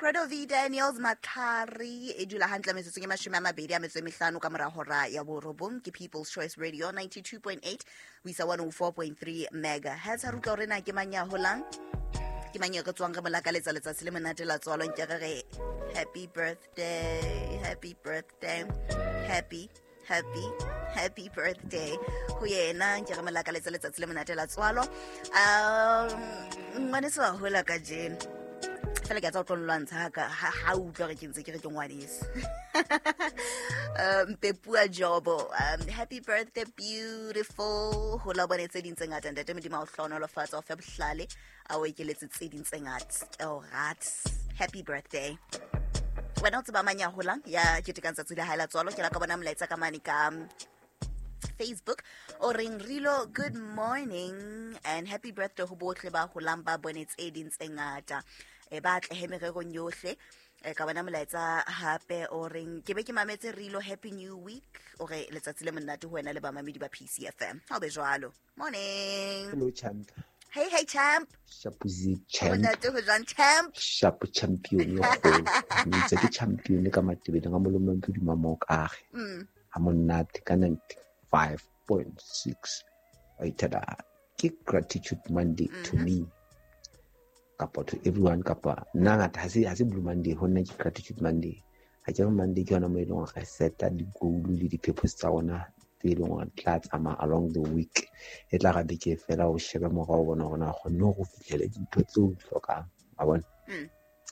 Credo V Daniels Matlhari e dula hantle metsotsong e 25 ka mora hora ya borobong. Ke People's Choice Radio 92.8 ho isa 104.3 megahertz. Ha re utlwa hore na ke mang ya holang, ke mang ya re tswang re mo lakaletsa letsatsi le monate la tswalo. Nke re re happy birthday, happy birthday, happy, happy, happy birthday ho yena. Nke re mo lakaletsa letsatsi le monate la tswalo. Ngwaneso wa hola kajeno. Fela ke a tsa o tlo nlwantsha ha utlwa re ke ntse ke re ke ngwaneso. Mpepua Jobo, happy birthday beautiful. Hola bone tse ding tse ngata, ntate Modimo a o hlohonolofatsa, o fe bohlale, a o ekeletse tse ding tse ngata. Ke o rata. Happy birthday. Wena o tseba mang ya holang ya ketekang tsatsi la hae la tswalo? Ke la ka bona molaetsa ka mane ka Facebook o reng Rilo, good morning and happy birthday ho bohle ba holang ba bone tse ding tse ngata, e ba atlehe mererong yohle. E ka bona molaetsa hape o reng ke be ke mametse Rilo, happy new week, o re letsatsi le monate ho wena le bamamedi ba PCFM. Ha o be jwalo. Morning. Hello champ. Hey, hey champ. Shapuzi champ. Monate ho jwang champ? Shapu champion yo kgolo. Ntse ke champion ka matebele nga molomo mpudi mamo kage. Ha monate ka 95.6. Wa ithada ke gratitude Monday to me. Kapa to everyone, kapa nna ngata ha se Blue Monday, ho nna ke gratitude Monday. Ha ke re Monday ke yona mo e leng hore re seta di-goal le di-purpose tsa rona tse e leng hore di tla tsamaya along the week. E tla ra beke fela o shebe morao o bona hore na o kgonne hore o fihlele dintho tseo o di hlokang, wa bona?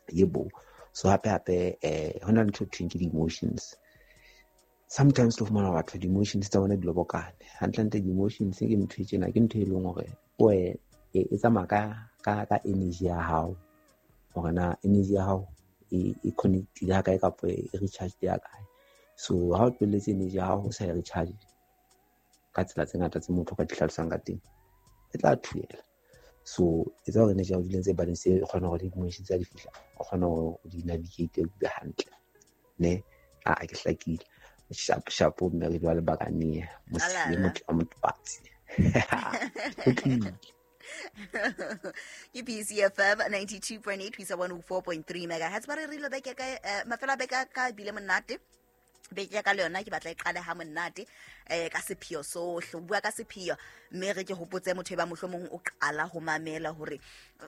Yebo. So hape hape, ho na le ntho e thweng ke di-emotions. Sometimes lo fumana batho di-emotions tsa bona di lobokane. Hantlentle di-emotions ke ntho e tjena, ke ntho e leng hore o e tsamaya ka energy ya hao. Hore na energy ya hao e connectile ha kae kapa e recharged ya kae. So ha o tlohelletse energy ya hao o sa e recharge ka tsela tse ngata tse motho ka di hlalosang ka teng, e tla thuela. So etsa hore energy ya hao e dule ntse e balance, e kgone hore di-emotions tsa di fihla, o kgone hore o di navigate o be hantle. Ne? A ke hlakile. Sharp, sharp, mme re jwale bakane, mosile Alala. motho wa motwatsi. Ho tlile. Ke PCFM 92.8 ho isa 104.3 megahertz. Ba re re ilo beke ka mafelo a beke ka bile monate. Beke ya ka le yona ke batla e qale ha monate, ka sepheo sohle. O bua ka sepheo, mme re ke hopotse motho e ba mohlomong o qala ho mamela hore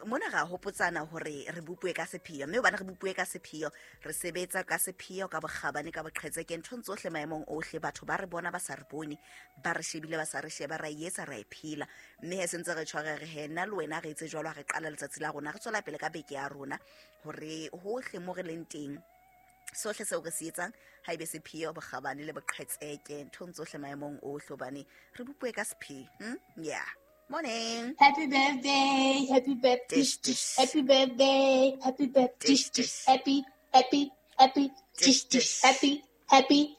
mona ra hopotsana hore re bopue ka sepheo, mme hobane re bopue ka sepheo, re sebetsa ka sepheo, ka bokgabane, ka boqhetseke, nthong tsohle, maemong ohle. Batho ba re bona ba sa re bone, ba re shebile ba sa re sheba, ra e etsa, ra e phela. Mme he sentse re tshware re he nna le wena re etse jwalo ha re qala letsatsi la rona, re tswela pele ka beke ya rona hore hohle mo re leng teng, sohle seo re se etsang ha ebe sepheo, bokgabane le boqhetseke nthong tsohle, maemong ohle, hobane re bopue ka sepheo. Yeah. Morning. Happy birthday, happy birthday, Dish, dish. happy birthday, happy birthday, Dish, dish. happy, happy, happy, Dish, dish, dish, dish. happy, happy.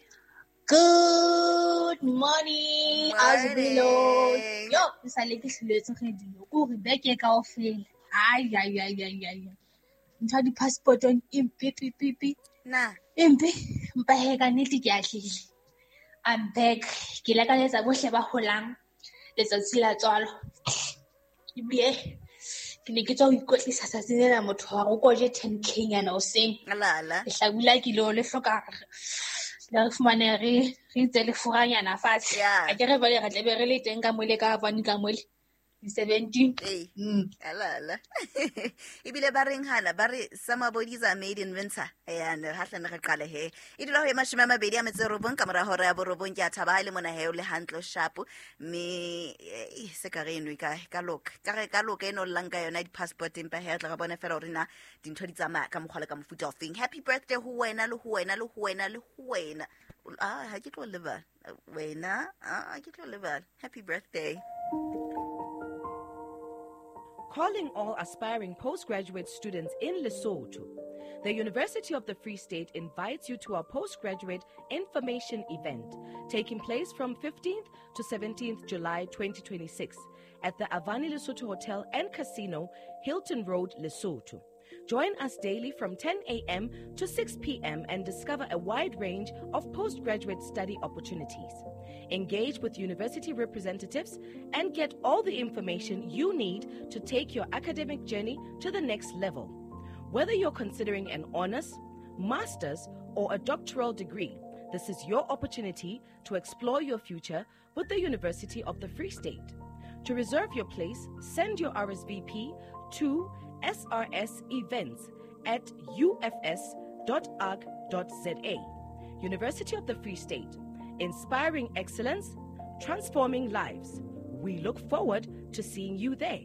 Good morning, Morning. Azbilo. Yo, ke sale ke hloletse radio. Ke hore beke kaofela. Ai, ai, ai, ai, ai, ai. Ntho ya di-passport-ong e mpe, pi, pi, pi. Na. E mpe, mpa he ka nnete ke atlehile. I'm back. Ke lakaletsa bohle ba holang letsatsi la tswalo. Ebile ke ne ke tswa ho ikwetlisa tsatsing lena, motho wa re o ko je 10K nyana hoseng. Alala. Lehlabula ke lo le hloka le re fumane re itse lefuranyana fatshe. Yeah. Ha ke re jwale re tla be re le teng ka mole, ka bane ka mole. Di-seventeen. Ee. Alala. Ebile ba reng hana, ba re summer bodies are made in winter. Ya, ne ha hlane re qale he. E dula ho ye 29 ka mora hora ya borobong. Ke a thaba ha e le mona he o le hantle, o sharp. Mme, se ka re eno e ka loka. Ka re ka loka eno llang ka yona di-passport, empa he re tla re bone fela hore na dintho di tsamaya ka mokgwa le ka mofuta ofeng. Happy birthday ho wena, le ho wena, le ho wena, le ho wena. Ah, ha ke tlo lebala. Wena, ah, ha ke tlo lebala. Happy birthday. Calling all aspiring postgraduate students in Lesotho. The University of the Free State invites you to our postgraduate information event taking place from 15th to 17th July 2026 at the Avani Lesotho Hotel and Casino, Hilton Road, Lesotho. Join us daily from 10 a.m. to 6 p.m. and discover a wide range of postgraduate study opportunities. Engage with university representatives and get all the information you need to take your academic journey to the next level. Whether you're considering an honors, master's, or a doctoral degree, this is your opportunity to explore your future with the University of the Free State. To reserve your place, send your RSVP to srsevents@ufs.org.za. University of the Free State, inspiring excellence, transforming lives. We look forward to seeing you there.